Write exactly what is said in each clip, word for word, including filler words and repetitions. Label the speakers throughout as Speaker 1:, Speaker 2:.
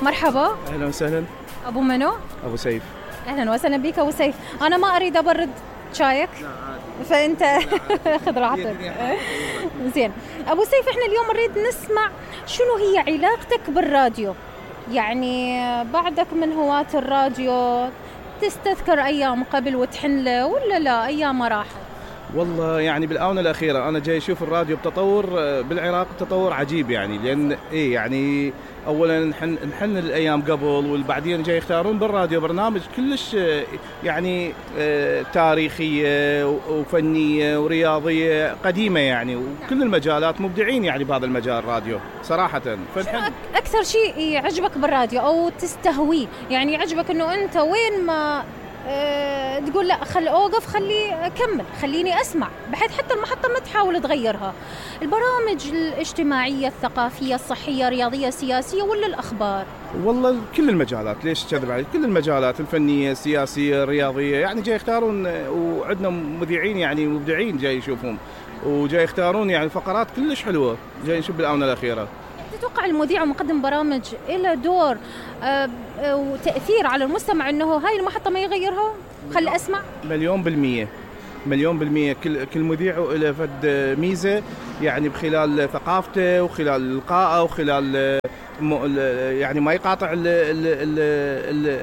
Speaker 1: مرحبا.
Speaker 2: أهلا وسهلا.
Speaker 1: أبو منو؟
Speaker 2: أبو سيف.
Speaker 1: أهلا وسهلا بك أبو سيف. أنا ما أريد أبرد شايك.
Speaker 2: لا عادي.
Speaker 1: فأنت خذ راحتك. زين أبو سيف، إحنا اليوم نريد نسمع شنو هي علاقتك بالراديو. يعني بعدك من هواة الراديو، تستذكر أيام قبل وتحن له ولا لا أيام راحت؟
Speaker 2: والله يعني بالآونة الأخيرة أنا جاي أشوف الراديو بتطور بالعراق، تطور عجيب يعني، لأن إيه يعني أولاً نحن نحن الأيام قبل والبعدين جاي يختارون بالراديو برنامج كلش يعني تاريخية وفنية ورياضية قديمة يعني، وكل المجالات مبدعين يعني بهذا المجال الراديو صراحة.
Speaker 1: فنحن أكثر شيء يعجبك بالراديو أو تستهويه، يعني يعجبك إنه أنت وين ما أه تقول لا خل أوقف، خلي أكمل، خليني أسمع، بحيث حتى المحطة ما تحاول تغيرها. البرامج الاجتماعية، الثقافية، الصحية، الرياضية، السياسية، ولا الأخبار؟
Speaker 2: والله كل المجالات، ليش كذب عليك، كل المجالات الفنية السياسية الرياضية يعني جاي يختارون، وعندنا مذيعين يعني مبدعين جاي يشوفون وجاي يختارون يعني فقرات كلش حلوة جاي نشوف بالآونة الأخيرة.
Speaker 1: تتوقع المذيع ومقدم برامج له دور وتأثير على المستمع إنه هاي المحطة ما يغيرها؟ خل أسمع.
Speaker 2: مليون بالمية مليون بالمية. كل كل مذيع له فد ميزة يعني بخلال ثقافته وخلال لقائه وخلال يعني ما يقاطع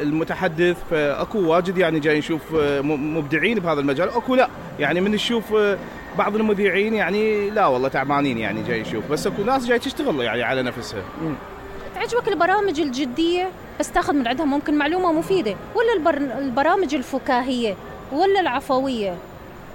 Speaker 2: المتحدث. فأكو واجد يعني جاي نشوف مبدعين بهذا المجال، أكو لا يعني من نشوف بعض المذيعين يعني لا والله تعبانين يعني جاي يشوف، بس اكو ناس جاي تشتغل يعني على نفسها.
Speaker 1: تعجبك البرامج الجدية بس تاخذ من عندها ممكن معلومة مفيدة، ولا البر... البرامج الفكاهية ولا العفوية؟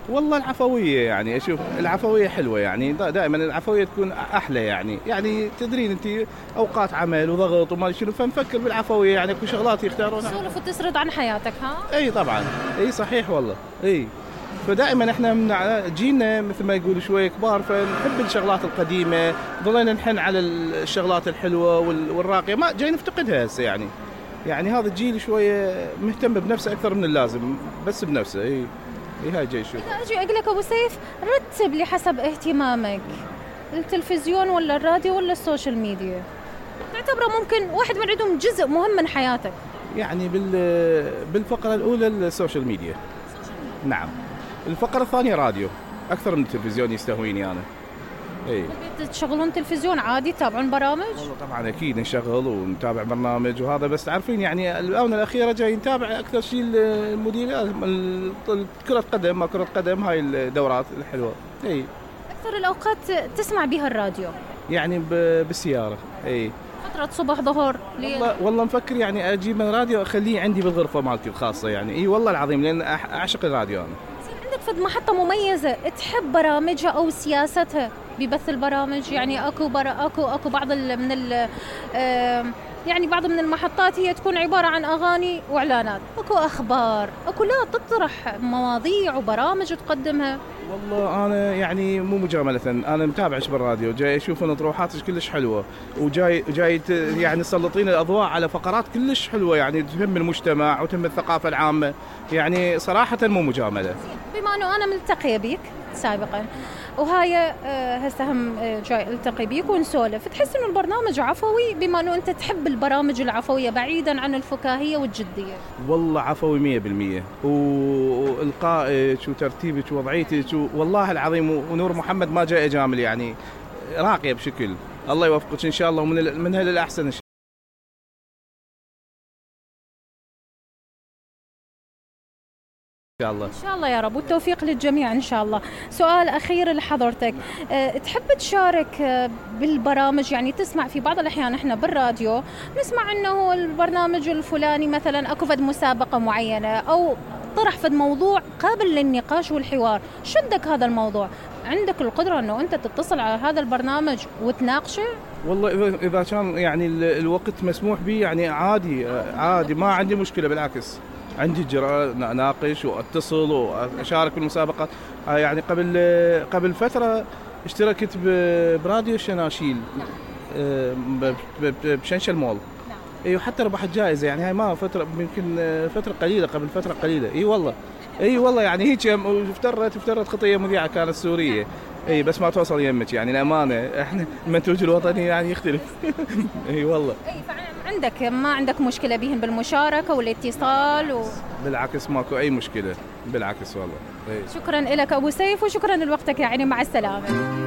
Speaker 2: والله العفوية يعني أشوف العفوية حلوة يعني، دائما العفوية تكون أحلى يعني يعني تدرين أنت أوقات عمل وضغط وما شنو، فنفكر بالعفوية يعني اكو شغلات يختارونها.
Speaker 1: تسولف وتسرد عن حياتك. ها
Speaker 2: اي طبعا، اي صحيح والله. اي فدائما احنا من جينا مثل ما يقولوا شويه كبار، فنحب الشغلات القديمه، ضلينا نحن على الشغلات الحلوه والراقيه، ما جاي نفتقدها هسه يعني. يعني هذا الجيل شويه مهتم بنفسه اكثر من اللازم، بس بنفسه. اي اي هاي جاي شوف.
Speaker 1: اجي اقول لك ابو سيف، رتب لي حسب اهتمامك التلفزيون ولا الراديو ولا السوشيال ميديا، تعتبره ممكن واحد من عندهم جزء مهم من حياتك.
Speaker 2: يعني بال بالفقره الاولى السوشيال ميديا، نعم. الفقرة الثانية راديو، أكثر من التلفزيون يستهويني أنا.
Speaker 1: إيه. تشغلون تلفزيون عادي تتابعون برامج؟
Speaker 2: والله طبعا أكيد نشغل ونتابع برنامج وهذا، بس تعرفين يعني الآونة الأخيرة جاي نتابع أكثر شيء المديريات، كرة قدم، ما كرة قدم، هاي الدورات الحلوة. إيه.
Speaker 1: أكثر الأوقات تسمع بها الراديو؟
Speaker 2: يعني بالسيارة. إيه.
Speaker 1: فترة صبح ظهر.
Speaker 2: والله والله مفكر يعني أجيب من راديو أخليه عندي بالغرفة مالتي الخاصة يعني. إيه والله العظيم، لأن أعشق الراديو أنا.
Speaker 1: فد محطة مميزة تحب برامجها أو سياستها ببث البرامج؟ يعني أكو برا أكو أكو بعض من ال يعني بعض من المحطات هي تكون عبارة عن أغاني وإعلانات، أكو أخبار، أكو لا تطرح مواضيع وبرامج تقدمها.
Speaker 2: والله أنا يعني مو مجاملة، أنا متابعش بالراديو، جاي أشوف أن طروحاتك كلش حلوة، وجاي جاي يعني تسلطين الأضواء على فقرات كلش حلوة يعني تهم المجتمع وتهم الثقافة العامة، يعني صراحة مو مجاملة.
Speaker 1: بما أنه أنا ملتقية بيك سابقا وهاي هسه هم جاي التقي بيك ونسولف، تحس انه البرنامج عفوي بما انه انت تحب البرامج العفويه بعيدا عن الفكاهيه والجديه؟
Speaker 2: والله عفوي مية بالمية، والقائك وترتيبك ووضعيتك والله العظيم، ونور محمد ما جاي اجامل يعني، راقيه بشكل. الله يوفقك ان شاء الله ومن منها للاحسن ان شاء الله. إن شاء الله.
Speaker 1: إن شاء الله يا رب، والتوفيق للجميع إن شاء الله. سؤال أخير لحضرتك، أه تحب تشارك بالبرامج؟ يعني تسمع في بعض الأحيان إحنا بالراديو نسمع إنه البرنامج الفلاني مثلا أكو فد مسابقة معينة أو طرح فد موضوع قابل للنقاش والحوار، شدك هذا الموضوع، عندك القدرة إنه أنت تتصل على هذا البرنامج وتناقشه؟
Speaker 2: والله إذا إذا كان يعني الوقت مسموح به يعني عادي عادي، ما عندي مشكلة، بالعكس عندي جرأة أناقش وأتصل وأشارك بالمسابقات. يعني قبل قبل فترة اشتركت براديو الشناشيل بشنشل مول. اي وحتى ربحت جائزة يعني، هاي ما فترة يمكن فترة قليلة، قبل فترة قليلة. اي والله اي والله يعني هيك افترت افترت خطية مذيعة كانت سورية. اي بس ما توصل يمك يعني الأمانة، احنا المنتوج الوطني يعني يختلف. اي والله.
Speaker 1: اي عندك ما عندك مشكلة بهم بالمشاركة والاتصال و...
Speaker 2: بالعكس ماكو اي مشكله، بالعكس والله.
Speaker 1: شكرا لك ابو سيف وشكرا لوقتك، يعني مع السلامه.